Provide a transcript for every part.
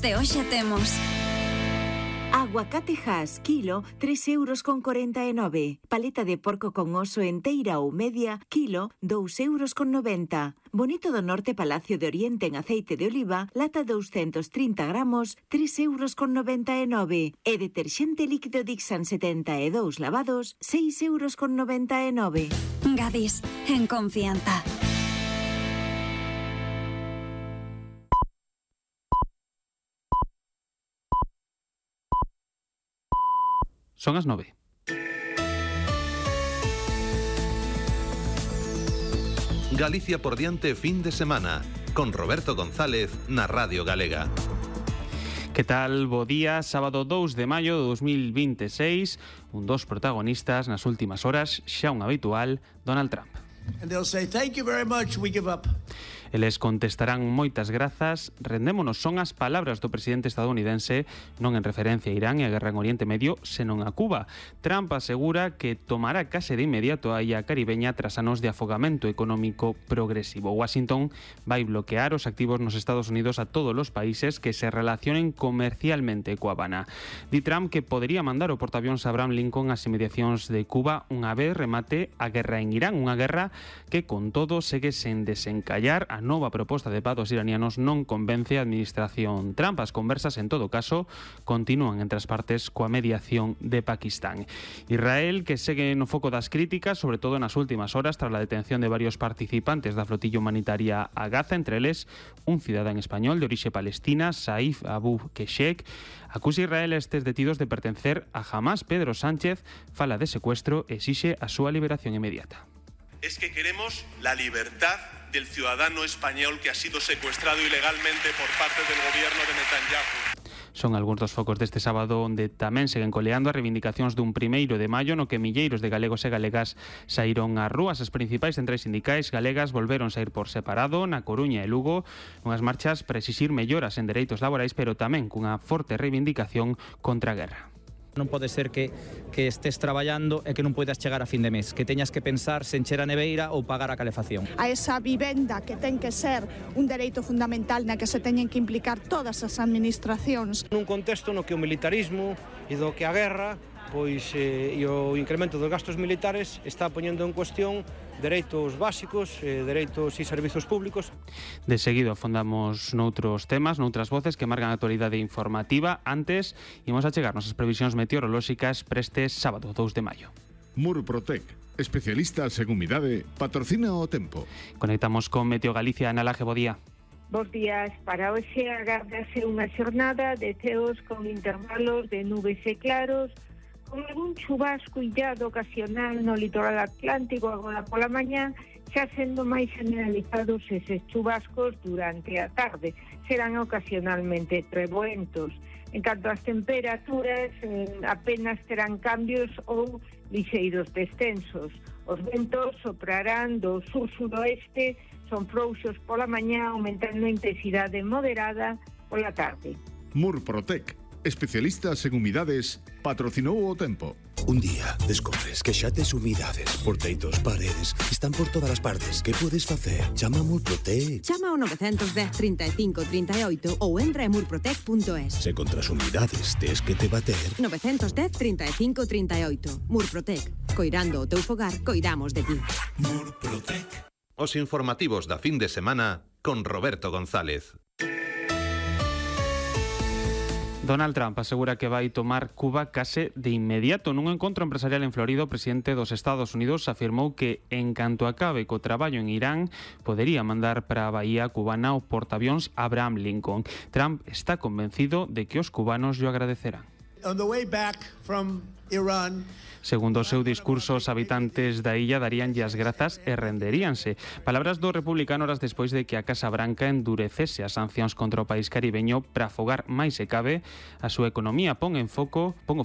de hoxe temos aguacate Hass, kilo, 3,49 €. Paleta de porco con oso enteira ou media, kilo, 2,90 €. Bonito do Norte Palacio de Oriente en aceite de oliva, lata 230 gramos, 3,99 €. E deterxente líquido Dixan 72 lavados, 6,99 €. Gadis, en confianza. Son as 9. Galicia por diante fin de semana, con Roberto González na Radio Galega. Que tal? Bo día, sábado 2 de maio de 2026, un dos protagonistas nas últimas horas, xa un habitual, Donald Trump. And they'll say, "Thank you very much, we give up." Eles contestarán moitas grazas. Rendémonos son as palabras do presidente estadounidense, non en referencia a Irán e a guerra en Oriente Medio, senón a Cuba. Trump asegura que tomará case de inmediato a illa caribeña tras anos de afogamento económico progresivo. Washington vai bloquear os activos nos Estados Unidos a todos os países que se relacionen comercialmente coa Habana. Di Trump que podería mandar o portaavións Abraham Lincoln ás inmediacións de Cuba unha vez remate a guerra en Irán, unha guerra que con todo segue sen desencallar. A nova proposta de paz dos iranianos non convence a administración Trump. As conversas, en todo caso, continúan entre as partes coa mediación de Pakistán. Israel, que segue no foco das críticas, sobre todo nas últimas horas, tras a detención de varios participantes da flotilla humanitaria a Gaza, entre eles un cidadán español de orixe palestina, Saif Abu Keshek. Acusa Israel a estes detidos de pertencer a Hamas. Pedro Sánchez fala de secuestro e exixe a súa liberación inmediata. Es que queremos la libertad del ciudadano español que ha sido secuestrado ilegalmente por parte del gobierno de Netanyahu. Son algúns dos focos deste sábado onde tamén seguen coleando as reivindicacións dun 1 de maio no que milleiros de galegos e galegas saíron ás rúas. As principais centrais sindicais galegas volveron saír por separado na Coruña e Lugo, unhas marchas para exixir melloras en dereitos laborais, pero tamén cunha forte reivindicación contra a guerra. Non pode ser que estés traballando e que non poidas chegar a fin de mes, que teñas que pensar se encher a neveira ou pagar a calefacción. A esa vivenda que ten que ser un dereito fundamental na que se teñen que implicar todas as administracións. Nun contexto no que o militarismo e do que a guerra e o incremento dos gastos militares está poñendo en cuestión dereitos básicos, dereitos e servizos públicos. De seguido afondamos noutros temas, noutras voces que marcan a actualidade informativa. Antes, imos a chegarnos as previsións meteorolóxicas para este sábado 2 de maio. Murprotec, especialistas en humidade, patrocina o tempo. Conectamos con Meteo Galicia. Ana Laje, bo día. Bos días. Para hoxe agárdase unha xornada de ceos con intervalos de nubes e claros, con algún chubasco illado ocasional no litoral atlántico agora pola mañá, xa sendo máis generalizados eses chubascos durante a tarde. Serán ocasionalmente treboentos. En canto ás temperaturas, apenas terán cambios ou lixeiros descensos. Os ventos soprarán do sur-suroeste, son frouxos pola mañá, aumentando a intensidade moderada pola tarde. Murprotec, especialistas en humidades, patrocinou o tempo. Un día descobres que xa tes humidades por teitos, paredes, están por todas as partes. Que podes facer? Chama a Murprotec. Chama ao 910 35 38 ou entra en murprotec.es. Se contra as humidades tes que te bater. 910 35 38. Murprotec. Coirando o teu fogar, coidamos de ti. Murprotec. Os informativos da fin de semana con Roberto González. Donald Trump asegura que vai tomar Cuba case de inmediato. Nun encontro empresarial en Florida, o presidente dos Estados Unidos afirmou que, en canto acabe co traballo en Irán, podería mandar para a bahía cubana o portaavións Abraham Lincoln. Trump está convencido de que os cubanos llo agradecerán. On the way back from Iran, Segundo o seu discurso, os habitantes da illa daríanlle as grazas e renderíanse. Palabras do republicano horas despois de que a Casa Branca endurecese as sancións contra o país caribeño para afogar máis se cabe a súa economía. Pon o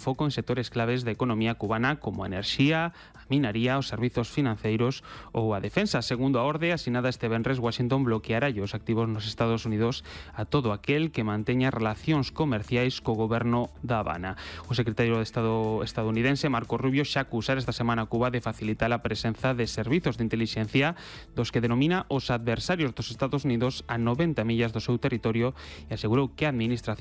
foco en sectores claves da economía cubana como a enerxía, a minaría, os servizos financeiros ou a defensa. Segundo a orde asinada este venres, Washington bloqueará os activos nos Estados Unidos a todo aquel que manteña relacións comerciais co goberno da Habana. O secretario de Estado estadounidense, Marco Rubio, xa acusar esta semana a Cuba de facilitar a presenza de servizos de inteligencia dos que denomina os adversarios dos Estados Unidos a 90 millas do seu territorio e asegurou que a administración